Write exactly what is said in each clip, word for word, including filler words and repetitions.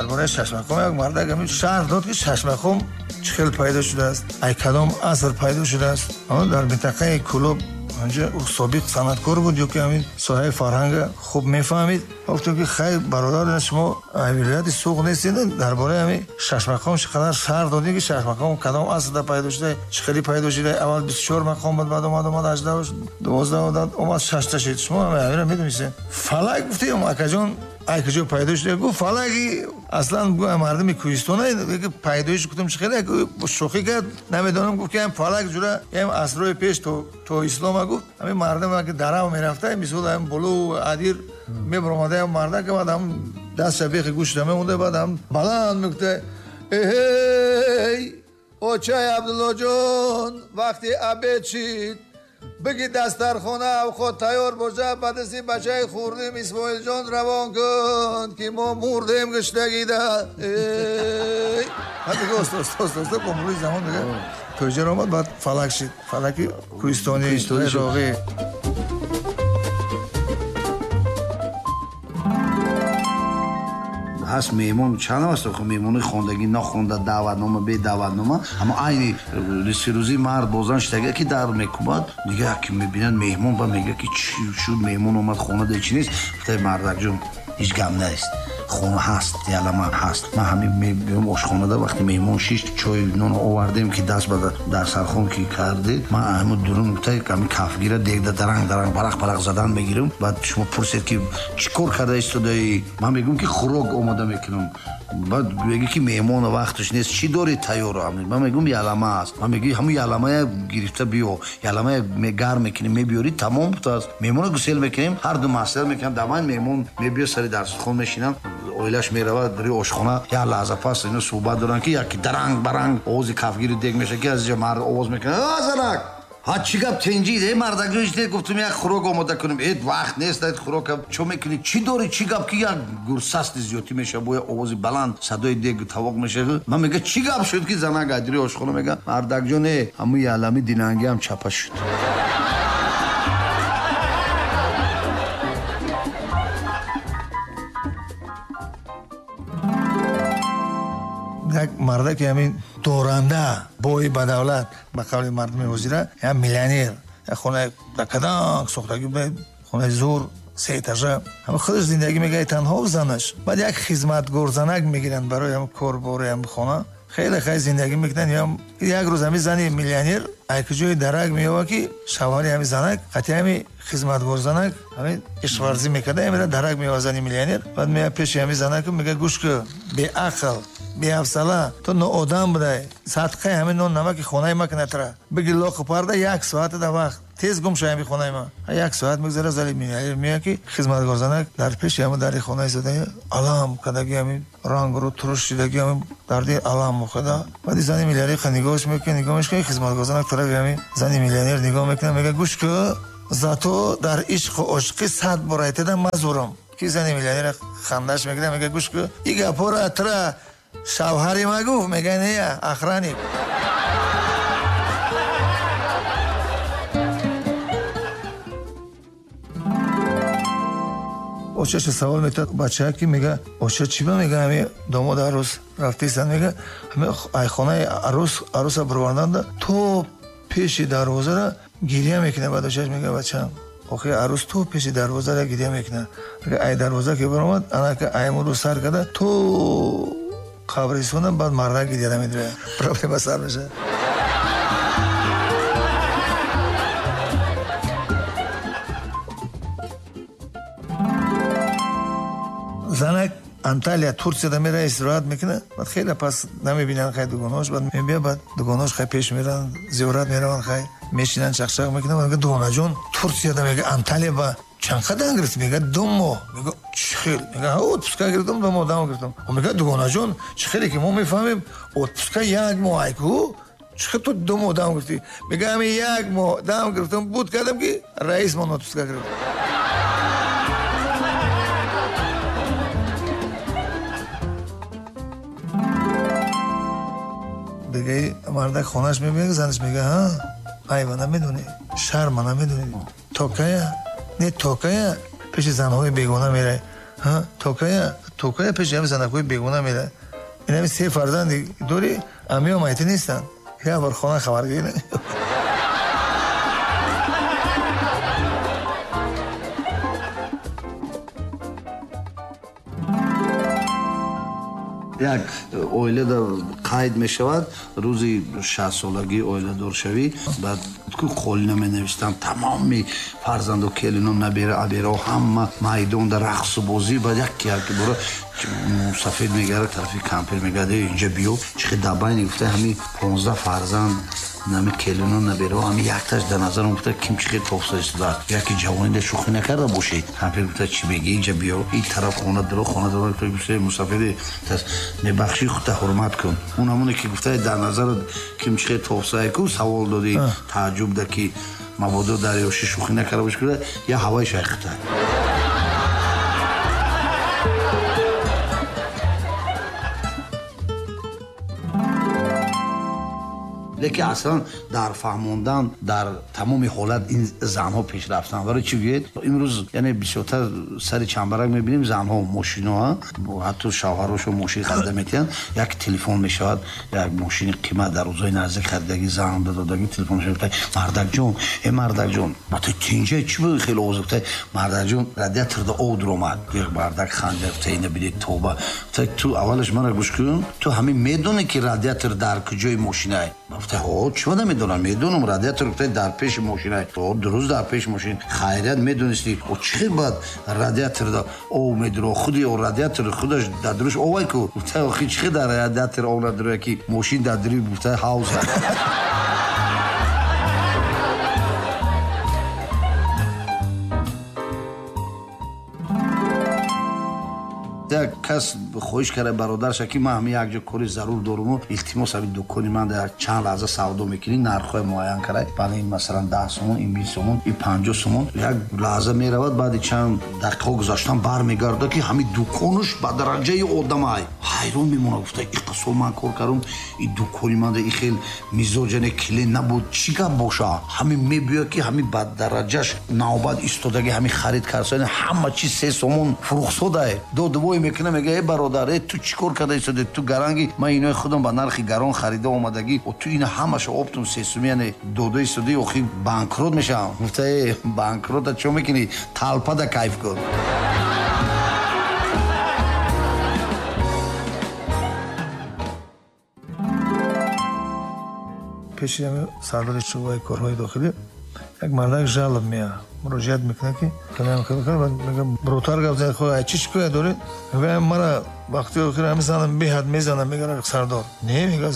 Дар бораи шашмақом як мардак ҳамин шарҳ дод, ки шашмақом чӣ хел пайдо шудааст, ай кадом аср пайдо шудааст. Дар минтақаи Кӯлоб онҷо собиқ санъаткор буд, ё ки ҳамин соҳаи фарҳанга хуб мефаҳмид. Гуфтем, ки хайр, бародар, шумо вилояти Суғд нестед, дар бораи ҳамин шашмақом чӣ қадар шарҳ додед, ки шашмақом кадом асрда пайдо шуда, чӣ хеле пайдо шуда. Аввал бисту чор мақом буд, баъд омад омад ҳаждаҳ, дувоздаҳ омад, шашта шуд. Шумо ҳаминро медонистед? Фалак гуфтем, акаҷон, ай куҷо пайдо шуда? Гуфт, фалаки аслан мардуми кӯҳистон пайдоиш. Гуфтам, чӣ хеле шӯхӣ кард, намедонам. Гуфт, ки ҳам фалак ҷура ҳам асрҳои пеш то то ислома, гуфт, ҳамин мардум ки дарав мерафта, мисол ҳам боло адир мебаромада, ҳам мардак баъд ҳам дастша бехи гӯшта мемонда, баъд ҳам баланд мегуфта: эҳей, очай Абдуллоҷон, вақти обед шид, бигӣ дастархона авқот тайёр бошад, ба дасти бачаи хурдим Исмоилҷон равон кун, ки мо мурдем гуштагида. Оста оста оста оста бо мурури замон дига тоҷир омад, баъд фалак шид, фалаки кӯҳистони роғӣ. Ҳаст меҳмон чанд аст, меҳмони хондагӣ, нахонда, даъватнома, бе даъватнома, аммо айни сирӯзӣ мард бо зан шитага, ки дар мекӯбад, дига ки мебинад меҳмон, ба мега, ки чӣ шуд, меҳмон омад, хона да чӣ нест? Гуфтаи мардакҷон, ҳеҷ гап нест, хона ҳаст, ялама ҳаст. Ман ҳамин мебиём ошхонада, вақти меҳмон шишт, чой нон овардем, ки даст ба дарсархон ки кардед, ман ҳамин дурун гуфта, ҳамин кафгира дегда даранг даранг барақ барақ задан мегирам. Баъд шумо пурсед, ки чӣ кор карда истодаӣ, ман мегӯям, ки хӯрок омода мекунам. Баъд мегӯ, ки меҳмона вақташ нест, чӣ дорӣ тайёр? Ман мегӯям, ялама аст. Ман мегӯ, ҳамун яламая гирифта биё, яламая гарм мекунем, мебиёрӣ, тамом будааст. Меҳмона гусел мекунем, ҳар ду маслиҳат мекунам, даман меҳмон мебиё, сари дарсхон мешинам, оилаш меравад рӯи ошхона. Як лаҳза пас ино суҳбат доранд, ки яки даранг баранг овози кафгири дег мешавад, ки аз инҷа мард овоз мекунад: а занак, ҳа, чӣ гап, тенҷӣ? Э, мардакҷон, ҳеҷ не, гуфтум, як хӯрок омода кунем. Э, вақт нест, хӯрока чо мекунӣ, чӣ дорӣ, чӣ гап? Ки як гурсасти зиёдтӣ мешавад, бо як овози баланд садои дег тавоқ мешавад. Ман мега, чӣ гап шуд? Ки занак аз рӯи ошхона мега: мардакҷон, э, ҳамун ялами динангӣ ҳам чапа шуд. Як мардаки ҳамин доранда, бои ба давлат, ба қавли мардуми ҳозира, як миллионер, як хонаи каданг сохтагӣ, хонаи зур, се этажа, ҳама худаш зиндагӣ мекард танҳо, занаш. Баъд як хизматгор занак мегиранд барои ҳам корбори ҳам хона. Хеле хай зиндагӣ мекунанд. Як рӯз ҳамин зани миллионер айкуҷои дарак меёбад, ки шавҳари ҳамин занак қатъи ҳамин хизматгор занак ҳамин ишқварзӣ мекарда. Ҳамин дарак меёбад зани миллионер. Баъд меяд пеши ҳамин занак, мега: гӯш кун, беақл, беҳавсала, ту ноодам будай, садқаи ҳамин нон намаки хонаи ма кунатра, биги лоқу парда, як соата да вақт, тез гум шав ҳамин хонаи ма. Як соат мегузара, зани миллионер меяд, ки хизматгор занак дар пеши ҳамин дари хонаи истода, алам кардаги, ҳамин рангру туруш шидаги, ҳамин дарди алам мухада. Баъди зани миллионер нигоҳш мекунад, нигоҳ мекунад, хизматгор занак тарафи ҳамин зани миллионер нигоҳ мекунад, мега: гӯш кун, зато дар ишқу ошиқӣ сад бор айтада мазурам. Ки зани миллионер хандаш мекунад, мега: гӯш кун, и гапҳоро тра шавҳари ма гуфт? Мега: не, охранник. Очаша савол метад бача, ки мега: оча, чӣ ба, мега, ҳами домод арӯс рафтесан, мега, ҳами айхонаи арӯс арӯса бироварданда то пеши дарвозара гиря мекунад. Баъд очаш мега: бачам, охи арӯс то пеши дарвозара гиря мекунад, агар ай дарвоза ки баромад, анака аймуру сар карда то қабристона, баъд мардак гиря намедиҳад, проблема сар мешавад. Занак Анталия, Турсияда мера, истироҳат мекунад. Баъд хеле пас намебинанд хай дугонаош. Баъд мебия, баъд дугонаош хай пеш меранд, зиёрат мераванд, хай мешинанд, чақчақ мекунанд. Мега: дугонаҷон, Турсияда, мега, Анталия ба чанд қадам гирифт? Мега: ду моҳ. Мега: чӣ хел? Мега: отпуска гирифтам, ду моҳ дам гирифтам. Мега: дугонаҷон, чӣ хеле ки мо мефаҳмем, отпуска як моҳ айку, чӣ хел ту ду моҳ дам гирифтӣ? Мега: ҳамин як моҳ дам гирифтам, буд кардам, ки раисмон отпуска гирифт. Бегаи мардак хонаш мебиёд, занаш мега: ҳа, айва намедонӣ, шарма намедонӣ, токая не, токая пеши занҳои бегона мерай. То кая то кая пеши ҳами занакҳои бегуна мера? Инами се фарзанди дорӣ, амиё майти нестанд, як бор хона хабаргирӣ. Як оилада қайд мешавад рӯзи шастсолагии оиладоршавӣ. Баъд ку қолина менавистанд, тамоми фарзанду келину набера аберао ҳама майдонда рақсу бозӣ. Баъд як як бора мусафед мегарад тарафи кампир, мегарад: «Инҷа биё, чихе дабайни гуфта, ҳами понздаҳ фарзанд, нами келину наберао, ҳами якташ дар назарам гуфта, ким чихе тофса истодааст, яки ҷавонида шӯхӣ накарда бошед». Кампир гуфта: «Чӣ мегӣ? Инҷа биё». Ин тараф хона дуро, хона дуро. Мусафеди: «Мебахшӣ, худта ҳурмат кун, он ҳамоне ки гуфта, дар назарат ким чихе тофсае ку савол додӣ, тааҷҷуб да ки мабодо дар ёшӣ шӯхӣ накарда бошӣ, я ҳавои шайхта». Лекин аслан дар фаҳмондан дар тамоми ҳолат ин занҳо пеш рафтанд. Барои чӣ гӯед? Имрӯз яъне бисёртар сари чамбарак мебинем, занҳо мошино, ҳатто шавҳарошо мошин харида метиҳанд. Як телефон мешавад, як мошини қимат дар рӯзҳои наздик харидагӣ, зан додагӣ, телефон мешавад: «Мардакҷон, э мардакҷон, ба ту тинҷа чӣ буд хеле овоз?» Гуфта: «Мардакҷон, радиаторда об дуромад». Мардак ханҷар гуфта: «Ина бидед, тоба». Гуфта: «Ту аввалаш мара гӯш кун, ту ҳамин медонӣ ки радиатор дар куҷои мошинай?» Гуфта: «Ҳо, чима намедонам, медонам, радиатор, гуфта, дар пеши мошинай». «Дуруст, дар пеши мошин. Хайрият, медонисти, о чӣ хел баъд радиаторда об медуро? Худи радиатор худаш дар дуруш овай ку». Гуфта: «Охи, чӣ хел дар радиатор об надуроя, ки мошин дар дури, гуфта, ҳавза?» Як кас хоҳиш карда бародарша, ки ман ҳами як ҷо кори зарур доруму, илтимос, ҳами дукони ман дар чанд лаҳза савдо мекунӣ, нархҳои муайян карда, баъд ин масалан даҳ сомон, ин бист сомон, ин панҷоҳ сомон. Як лаҳза меравад, баъди чанд дақиқаҳо гузаштан бармегарда, ки ҳами дуконаш ба дараҷаи одамай. Ҳайрон мемонад, гуфта: «Иқа сол ман кор кардам, и дукони ман и хел мизоҷане клиент набуд, чӣ гап боша?» Ҳами мебиёяд, ки ҳами ба дараҷаш навбат истодаги, ҳами харид карса, ҳама чиз се сомон фурӯхсодае. Додвой мекунам, мега: «Э бародар, э ту чӣ кор карда истоди? Ту гаранги, ман инои худам ба нархи гарон харида омадагӣ, ту ина ҳамаша оптум се суми, яъне дода истоди, охи банкрот мешавам». Гуфта: «Э банкрота чо мекунӣ, талпада кайф кун». Пеши сардори шӯъбаи корҳои дохилӣ як мардак жалоб меяд, муроҷиат мекунад, ки бротар гап зад: «Хо, чӣ шикоят доред?» Мегӯям: «Мара вақти охир ҳами занам беҳад мезанам». Мега сардор: «Не». Мега: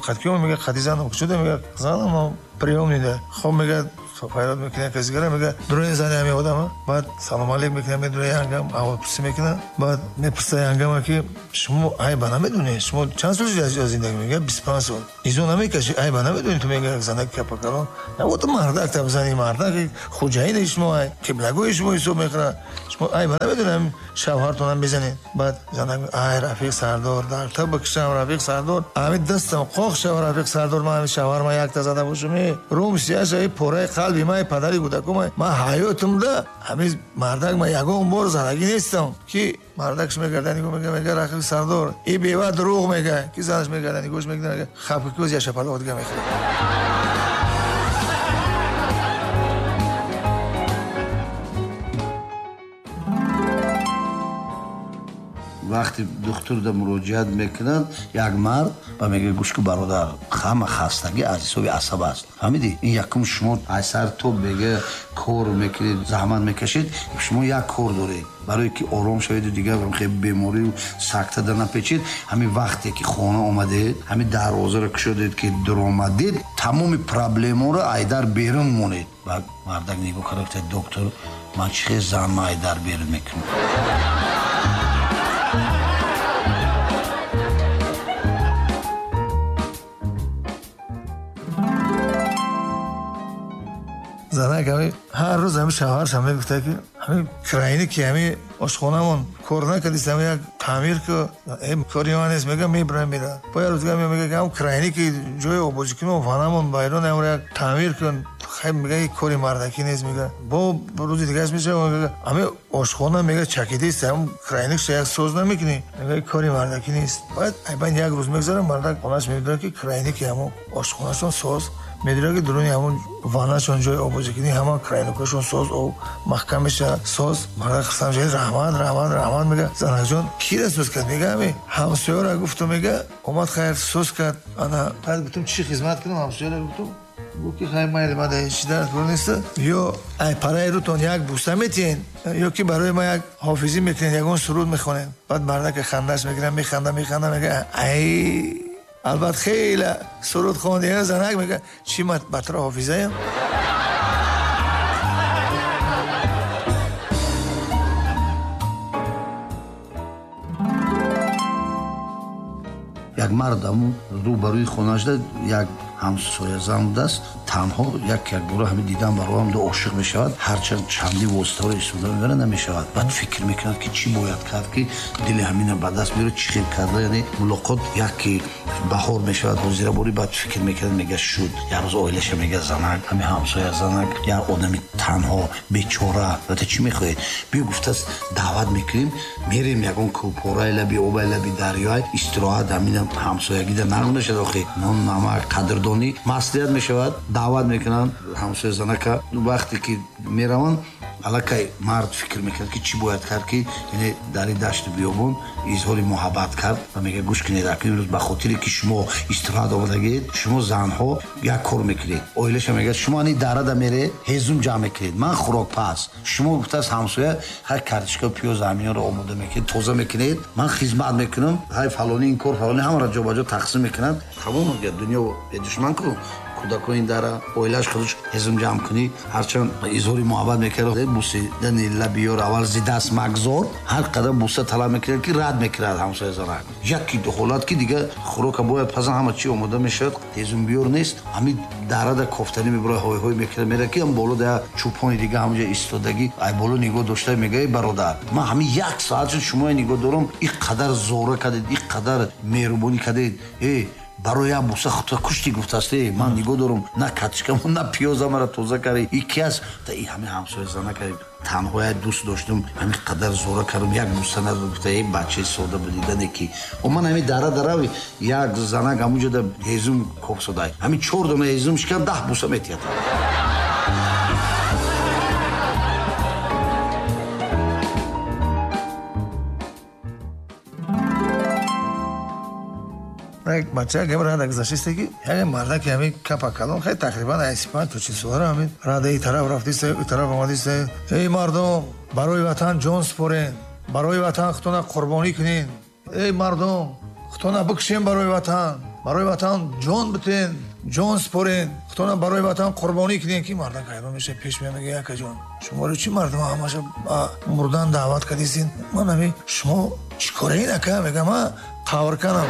«Қадкиёма?» Мега: «Қади занам шуда». Мега: «Занам приём нида». Хоб, мега, файрод мекунад касигара, мега: «Дурои зани ҳами одама». Баъд салом алейк мекунад, медура янгам, аҳволпурсӣ мекунад. Баъд мепурса янгама, ки шумо айба намедонед, шумо чанд сол зиндагӣ? Мега: «Бисту панҷ сол». «Изо намекашӣ, айба намедонӣ ту?» Мега занак капакалон: «Вот мардак там, зани мардак, хуҷаини шумо ай, қиблагоҳи шумо ҳисоб мекунад, шумо айба намедонед, шавҳартонам мезанед?» Баъд занак: «Ай рафиқ сардор, дар та бикшам, рафиқ сардор, ҳами дастам қоқ шава, рафиқ сардор, ман ҳами шавҳар ман якта зада бошум, рум сияша, пораи қалби ман, падари кӯдакум, ман ҳаётимда ҳами мардак ман ягон бор задагӣ нестам». Ки мардакш мегарда нигоҳ мега, мега: «Рафиқ сардор, и бева дурӯғ мега». Ки занаш мегарда нигоҳш мекунад, мега: «Хапкӯз, я шапалоқ дига мехӯрад». Вақте духтурда муроҷиат мекунад як мард ва мегӯяд: «Гӯш ку, бародар, ҳама хастагӣ аз ҳисоби асаб аст, фаҳмидӣ? Ин якум, шумо аз сар то бега кор мекунед, заҳмат мекашед, шумо як кор доред барое ки ором шаведу дигар беморию сакта да напечед. Ҳамин вақте ки хона омадед, ҳамин дарвозаро кушодед ки дуромадед, тамоми проблемаро айдар берун монед». Баъд мардак нигоҳ карда гуфта: «Доктор, ман чӣ хел занма айдар берун мекунам?» Занак ҳами ҳар рӯз ҳами шавҳаршам мегуфта, ки Ҳамин краине ки ҳамин ошхонамон кор накардист, ҳамин як таъмир ку, кори ман нест, мега мебарам мера. Бо як рӯз дига мега ки ҳам краине ки ҷои оббозикунӣ ванамон байрон ҳамро як таъмир кун. Хай мега ин кори мардакӣ нест, мега. Бо рӯзи дигааш мешава, мега ҳамин ошхона мега чакидист, ҳам крайникша як соз намекунӣ, мега ин кори мардакӣ нест. Баъд айбан як рӯз мегзара, мардак хонаш медонад ки крайники ҳамон ошхонашон соз, медонад ки дуруни ҳамон ванашон ҷои оббозикунӣ ҳама крайникашон соз, об маҳкам мешавад соз. Мардак хурсанд мешавад, раҳмат, раҳмат, раҳмат, мега. Занакҷон кира соз кард? Мега ҳамин ҳамсояро гуфтум, мега омад хайр соз кард. Ана баъд гуфтум чӣ хизмат кунам ҳамсояро, гуфтум гуфт ки хай майли ман дар чӣ дар кор нест, ё ай параи рӯтон як буса метиҳен, ё ки барои ман як ҳофизӣ мекунед, ягон суруд мехонед. Баъд мардаке хандаш мегирад, механда, механда, мега ай албат хеле суруд хонди. Занак мега чӣ ман батра ҳофизаям? Як мард ҳамун рӯ ба рӯи хонашда як ҳамсоязан будааст, танҳо як якбора ҳамин дидан бароам ду ошиқ мешавад, ҳарчанд чанди воситаҳоро истифода мебарад намешавад. Баъд фикр мекунад ки чӣ бояд кард ки дили ҳамина ба даст биёрад, чӣ хел карда, яъне мулоқот як ки баҳор мешавад ҳозираборӣ. Баъд фикр мекунад, мега шуд як рӯз оилаша мега занак, ҳамин ҳамсоя занак, як одами танҳо бечора, албатта чӣ мехоҳед? Биё гуфтааст даъват мекунем, мерем ягон кӯҳпораи лаби обай лаби дарёй истироҳат, ҳамина ҳамсоягида нағз мешавад, охи нон намак қадрдонӣ маслиҳат мешавад. Даъват мекунанд ҳамсоя занака. Вақте ки мераванд, аллакай мард фикр мекунад ки чӣ бояд кард ки яъне дар ин дашти биёбон изҳори муҳаббат кард ва мега гӯш кунед, акнун имрӯз ба хотире ки шумо истироҳат омадагиед, шумо занҳо як кор мекунед. Оилаша мегӯяд шумо ани дарада меред, ҳезум ҷамъ мекунед, ман хӯрокпаз. Шумо гуфтааст ҳамсоя ҳай картишка пиёз ҳаминро омода мекунед, тоза мекунед, ман хизмат мекунам, ҳай фалони ин кор фалони ҳамаро ҷобаҷо тақсим мекунад. Тамом мегӯяд дунё бедушман ку, кӯдакони дара оилаш худаш ҳезум ҷамъ кунӣ. Ҳарчанд изҳори муҳаббат мекард, бусидани лаби ёр аввал зи даст магзор, ҳар қадар буса талаб мекунад ки рад мекунад ҳамсоя занак. Яки ҳолат ки дига хӯрока бояд пазан, ҳама чӣ омода мешавад, ҳезумбиёр нест, ҳамин дарада кофтанӣ мебурад, ҳойҳой мекунад, мерад ки ҳам боло да чӯпони дига ҳамҷа истодагӣ, ай боло нигоҳ дошта мега эй бародар, ман ҳамин як соат шуд шумоя нигоҳ дорам, ин қадар зора кардед, ин қадар меҳрубонӣ кардед, э барои як буса худта кушти гуфтааст, э ман нигоҳ дорам, на картишкамо на пиёзамара тоза карди, и ки аст? И ҳамин ҳамсоя зана карди, танҳоя дӯст доштум, ҳамин қадар зора кардам, як буса надод. Гуфта эй бачаи сода будидане ки о ман ҳамин дара дарави як занак ҳамунҷода ҳезум кофсодай, ҳамин чор дона ҳезум шикан даҳ буса метиҳад. Як бача гап рада гузаштист ки як мардаки ҳамин капа калон, хай тақрибан ай си панҷ то чил солара, ҳамин рада ин тараф рафтист, ин тараф омадист. Эй мардум, барои ватан ҷон супорен, барои ватан худтона қурбонӣ кунен, эй мардум худтона бикушен барои ватан, барои ватан ҷон битен, ҷон супорен, худтона барои ватан қурбонӣ кунен. Ки мардак ҳайрон мешавад, пеш меояд, мега якаҷон шуморо чӣ мардум ҳамаша ба мурдан даъват кардистин, ман ҳамин шумо чӣ кораин ака? Мега ман қаврканам.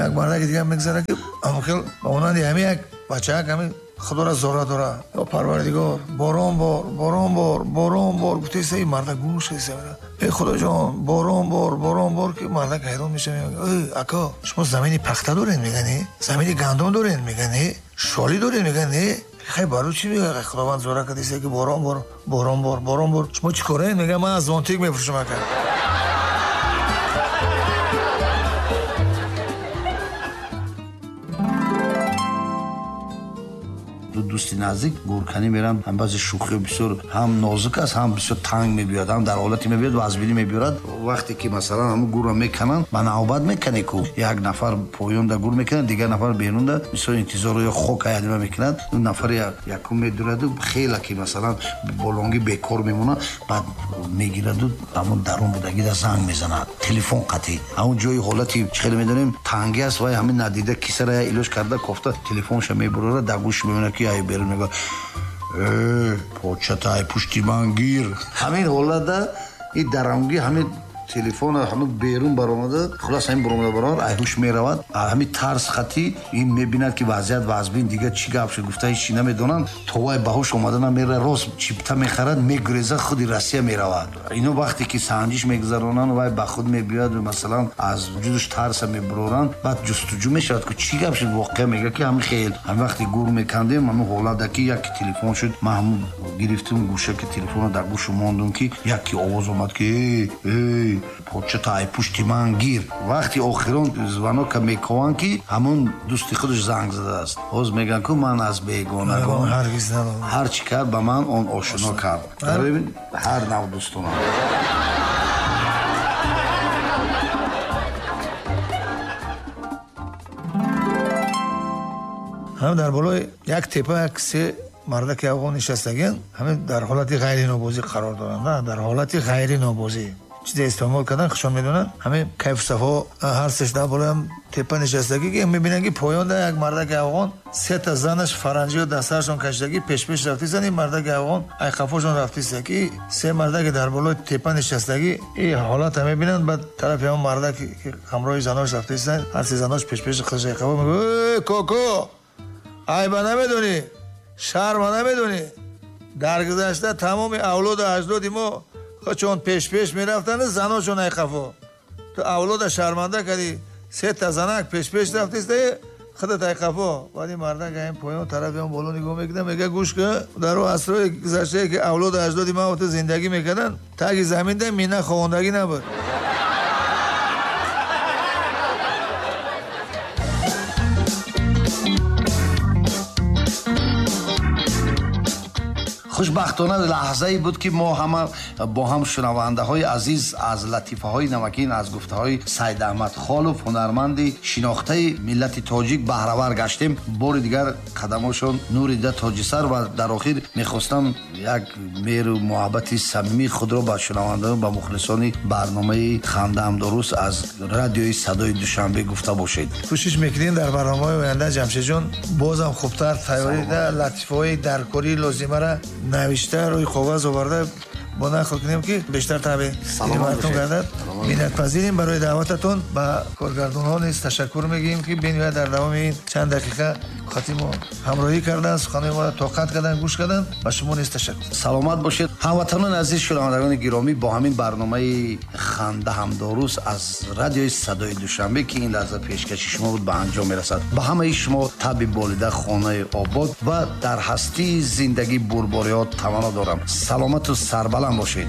Як мардаки дига мегзара ки ҳамхел ба монанди ҳамин як бачаак ҳамин худоро зора дора, ё парвардигор борон бор, борон бор, борон бор гуфтаиста. Ин мардак гӯш кардиста, эй худоҷон борон бор, борон бор. Ки мардак ҳайрон мешавад, мега эй ака шумо замини пахта доред? Мега не. Замини гандум доред? Мега не. Шолӣ доред? Мега не. Хай барои чӣ мега худованд зора кардиста ки борон бор, борон бор, борон бор, шумо чӣ кораед? Мега ман аз зонтик мефурӯшам ака. Ду дӯсти наздик гурканӣ меранд, ҳам баъзе шӯхиҳо бисёр ҳам нозук аст, ҳам бисёр танг мебиёяд, ҳам дар ҳолате мебиёяд вазбинӣ мебиёрад. Вақте ки масалан ҳамун гурро мекананд, ба навбат мекане ку як нафар поёнда гур мекунад, дигар нафар берунда бисёр интизорро ё хок аядима мекунад. Он нафари якум медураду хеле ки масалан болонгӣ бекор мемонад, баъд мегираду ҳамун дарун будагида занг мезанад, телефон қатъӣ. Ҳамун ҷои ҳолати чӣ хеле медонем тангӣ аст, вай ҳамин надида кисара я илоҷ карда кофта телефонша мебурора, дар гӯш мемонад ки ай берун мега э почата ай пушти ман гир. Ҳамин ҳолатда и дарамгӣ ҳамин Телефон ҳама берун баромада, хулас ҳамин баромада баромад, айҳуш меравад. Ҳамин тарс хати ин мебинад ки вазъият вазбин, дигар чӣ гап шуд гуфта ҳеч чӣ намедонанд. То вай ба ҳуш омада намера, рост чипта мехарад, мегурезад, худи Россия меравад. Ино вақте ки санҷиш мегузаронанд, вай ба худ мебиёяд, масалан аз вуҷудаш тарса мебуроранд, баъд ҷустуҷӯ мешавад ки чӣ гап шуд. Воқеа мега ки ҳамин хел ҳамин вақте гур мекандем, ҳамин ҳолат ки яке телефон шуд, ман ҳамун гирифтам гӯшаки телефонро дар гӯшу мондум ки яке овоз омад ки эй эй почта ай пушти ман гир. Вақти охирон звонока мекованд ки ҳамун дӯсти худаш занг задааст. Ҳоз мегӯянд ку ман аз бегонагон ҳар чӣ кард ба ман он ошино кард. Ҳар нав дӯстонам. Ҳам дар болои як тепа як се мардаки афғон нишастагианд, ҳамин дар ҳолати ғайринобозӣ қарор доранд, дар ҳолати ғайринобозӣ чизе истеъмол кардан хушон медонанд. Ҳамин кайфу сафо ҳар сеш дар болоям тепа нишастагӣ ки мебинанд ки поёнда як мардаки афғон се та занаш фаранҷиё дар сарашон кашидагӣ пешпеш рафтистанд. Ин мардаки афғон айқафошон рафтиста ки се мардаки дар болои тепа нишастагӣ ин ҳолата мебинанд. Баъд тарафи ҳамон мардаки ки ҳамроҳи занош рафтистанд, ҳар се занош пешпеш худаш айқафо мегӯяд: э коко, айба намедонӣ, шарма намедонӣ, дар гузашта тамоми авлоду аҷдоди мо чун пешпеш мерафтанд, заношон айқафо. Ту авлода шарманда кардӣ, се та занак пешпеш рафтиста, худат айқафо. Баъд ин мардак ҳамин поён тарафи он боло нигоҳ мекунад, мегӯяд: гӯш кун, дар он асрҳои гузаштае ки авлоду аҷдоди ман ту зиндагӣ мекарданд, таги заминда мина ховондагӣ набуд. Хушбахтона лаҳзае буд ки мо ҳама бо ҳам шунавандаҳои азиз аз латифаҳои намакин, аз гуфтаҳои Сайд Аҳмад Холов, ҳунарманди шинохтаи миллати тоҷик баҳравар гаштем. Бори дигар қадамошон нури дида тоҷисар. Ва дар охир мехостам як меҳру муҳаббати самимии худро ба шунавандагон, ба мухлисони барномаи «Хандаам дуруст» аз радиои Садои Душанбе гуфта бошед. Кӯшиш мекунем дар барномаҳои оянда Ҷамшедҷон бозам хубтар тайёрида латифаҳои даркории лозимаро навишта рӯи коғаз оварда бо нақл кунем ки бештар таъби мардум гардад. Миннатпазирем барои даъвататон. Ба коргардонҳо низ ташаккур мегӯем ки бениҳоят дар давоми ин чанд дақиқа хати мо ҳамроҳӣ карданд, суханои моро тоқат карданд, гӯш карданд. Ба шумо низ ташаккур. Саломат бошед. Ҳамватанони азиз, шунавандагони гиромӣ, бо ҳамин барномаи «Ханда ҳам дуруст» аз радиои Садои Душанбе ки ин лаҳза пешкаши шумо буд ба анҷом мерасад. Ба ҳамаи шумо таби болида, хонаи обод ва дар ҳастии зиндагӣ бурбориҳо таманно дорам. Саломату сарбаланд бошед.